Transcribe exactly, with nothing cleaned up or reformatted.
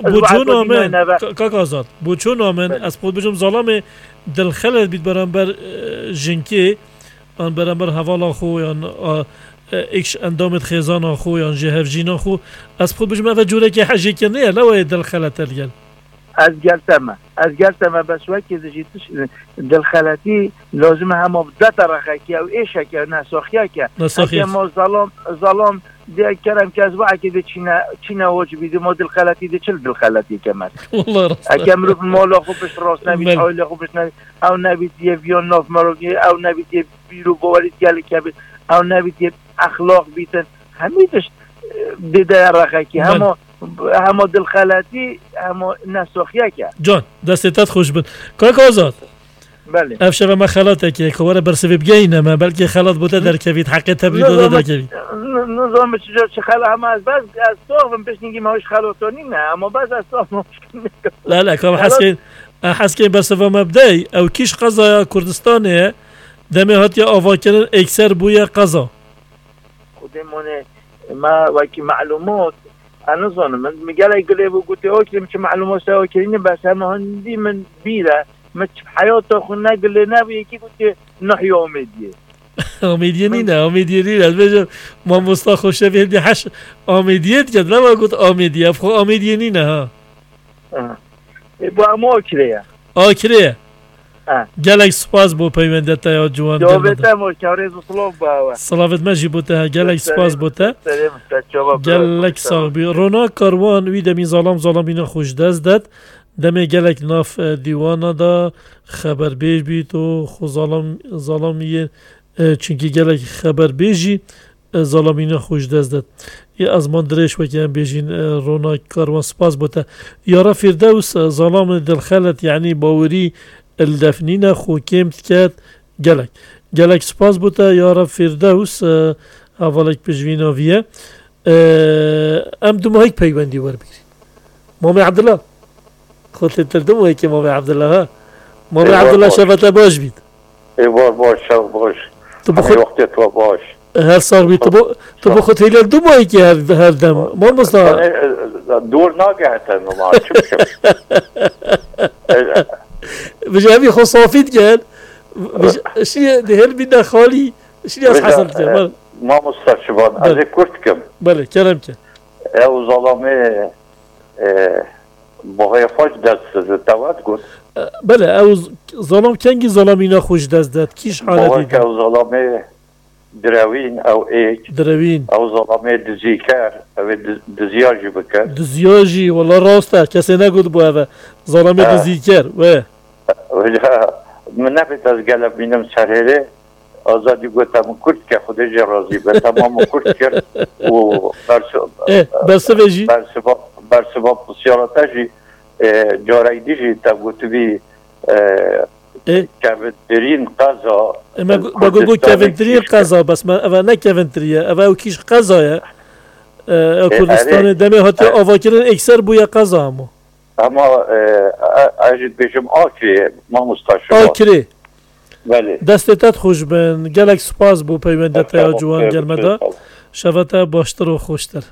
Bo çûna min, ka-, kak Azad, bo çûna min, ez xwe bêjim zalamê dilxelet bît beramber, e, jinkê, an beramber hevala xwe, yan, a, e, êk ji endamê xêzana xwe, yan jî hevjîna xwe, ez xwe bêjim ev e corekê hejêkirinê ye, ne wayê dilxelet e li gel. Ez gel te me. Ez gel te me, bes wekî di jî tiş-, dilxeletî lazim e hema bidete rexekî ew êşeke, nesaxiyeke. Nesaxiyek. Heke ma zalam, zalam Dê kerem ke ez va eke dê çîne, çîne hoc bî, dê ma dilxeletî dê çil dilxeletî ke me. Wallah rast e. Eke mirov mala xwe pişt rast nebît, Belê. Aile xwe pişt nebît, ew nebît yê viyan nav merov yê, ew nebît yê bîr û bawerî gelek hebît, ew nebît yê exlaq bîtin. Hemî tişt, e, dê de rexekî. Belê. Hema, hema dilxeletî, hema nesaxiyek e. Can, destê te xweş bin. Kak Azad. Belê. Ev şeve me xelatekê, ku were bersivê bigeyîne me, belkî xelat bo te derkevît, heqê te bidî de derkevît. Nizanim çi, çi xela hema ez bes, ez sax bim, piştî me hoş xelatanî ne, ama bes ez sax bim. La, la, kam heskên, heskên bersiva me bidey, ew kîş qezaya Kurdistanê ye, demê hatiye avakirin ekser bûye qeza. Xwedê mane me wekî melumat, ez nizanim. Min, min gelek gilê bû gotê, okê, min çi melumat se okê, ne bes hema hindî min bîr e. Min çi heyata xwe ne gilê nebû, yekî gotê, nahya Amêdiyê. Amêdiyê nîne, Amêdiyê nîne. Ez bêjim, mamosta Xoşevê hindî heş Amêdiyê diket, nema got Amêdiyê. Ev xwe Amêdiyê nîne, ha. Ha. E, bu ama Akirê ye. Akirê ye. Ha. Gelek spas bo peywendeta ya ciwan, Cavê gelmeda. Te mo, karêz û silav bo ewe. Silavêt me jî bo te, gelek spas bo te. Serê min, te çava bira. Gelek sax bî. Ronak Karwan wî demî zalam zalamîna xwe ji dest det. Demê gelek nav, e, dîwana da xeberbêj bît û xwe zalam, zalamiyê, e, çunkî gelek xeberbêjî e, zalamîna xwe ji dest det. Yê ezman dirêj wekî em bêjîn, e, Ronak Karwan spas bo te. Yara Fîrdews, e, zalamê dilxelet, yanî bawerî li def nîne, xwe kêm diket. Gelek. Gelek spas bo te, Yara Fîrdews, e, hevalek pişvîna vî ye. E, em dumahîk peywendî werbîrî. Mamê Ebdullah. Xwe têtir dim wekî Mamê Abdullah, ha? Mamê Ê, baş, Abdullah, baş. Şevete baş bît. Ê, baş, baş, şev baş. Tu bi Hemî xwe wextê tu baş. Her sax bî. Tu bi, tu bi xwe têlê dim wekî her, her dem. Mamosta. Ê, ê, dûr nagehete numa, çi bikim? Ê, Bi jevî xwe safî dikin. Bi je-, şiyê di hel bîne xalî. Şiyê ez Vêca, hesel dikin. e, Bal. Mamosta Şivan, ez Bal. ê kurt kim. Belê, kerem ke. Ew zalamê, e, Boxê xwe ji dest dide, te wet got. Belê, ew z-, zalam kengî zalamîna xwe ji dest de, kîş haletî de? Ew zalamê direwîn, ew êk. Direwîn. Ew zalamê dizîker, ew ê di-, diziya jî bikir. Diziya jî, wela rast e, kesê negot bû ev e. Zalamê He. dizîker, wê. Wê, min nebêt ez gelek bînim ser hêrê. Azadî gote min kurt ke, Xwedê jê razî be, te ma min kurt kir û bersi-, Eh, bersivê jî? bersiva, bersiva pisyara te jî, e, carek dî jî te gotibî, e, Eh. kevintirîn qeza E, me gu-, me got, got Kurdistanê kevintirîn kîş ke. qeza, bes me, eve ne kevintirî ye, eve ew kîş qeza ye. E, ew E, Kurdistanê erê. demê hatiye E. avakirin ekser bûye qeza hemû. Hema, e, e, ez jî dibêjim Akirê, mamosta Şivan. Akirê. Belê. Destê te xweş bin. Gelek spas bo peywendê te ya ciwan gel me da. Şeva te baştir û xweştir.